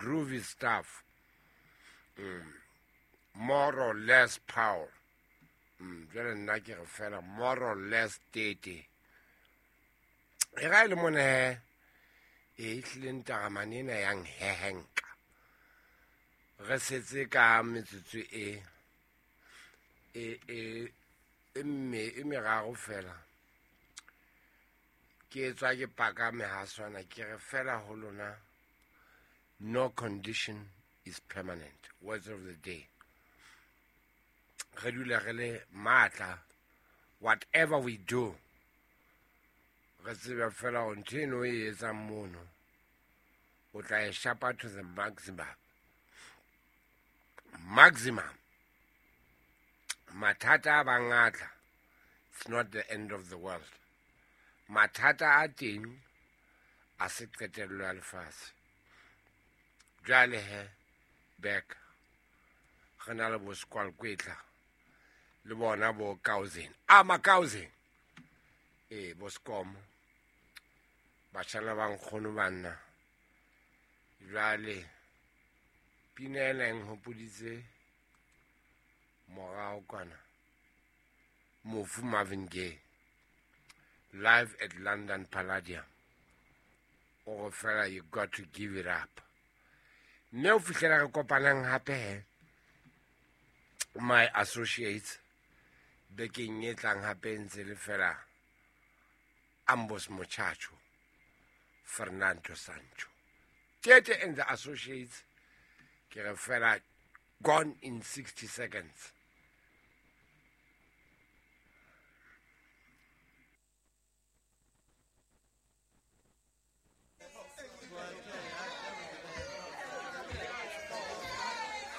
Groovy stuff. More or less power. Jwale nna ke re fela more or less tete. E ga e le mone he, e ehlile ntaramane ena ya nhehenka. Re setse ka metsotso e e e e mme e meraro fela. Ke tswa ke paka mehaswana ke re fela ho lona, no condition is permanent. Words of the day. Re dula re le matla, whatever we do, re tsebe fela hore ntho eno e etsang mono o tla e shapa to the maximum. Maximum. Mathata a bang a tla, it's not the end of the world. Mathata a teng a se qetello ya lefatshe. Jwale he, back re na le bo Skwalkwetla le bona bo Kauzen, a Makauzen, ee, bo Skomo, batjhana ba nkgono banna. Jwale pina ena e nhopoditse morao kwana, mofu Marvin Gaye, Live at London Palladium. O re fela, "You got to give it up." Mme o fihlela re kopanang hape he, my associates, bekeng e tlang hape, ntse le fela Ambos Muchacho, Fernando Sancho, Tete and the Associates. Ke re fela, gone in 60 seconds.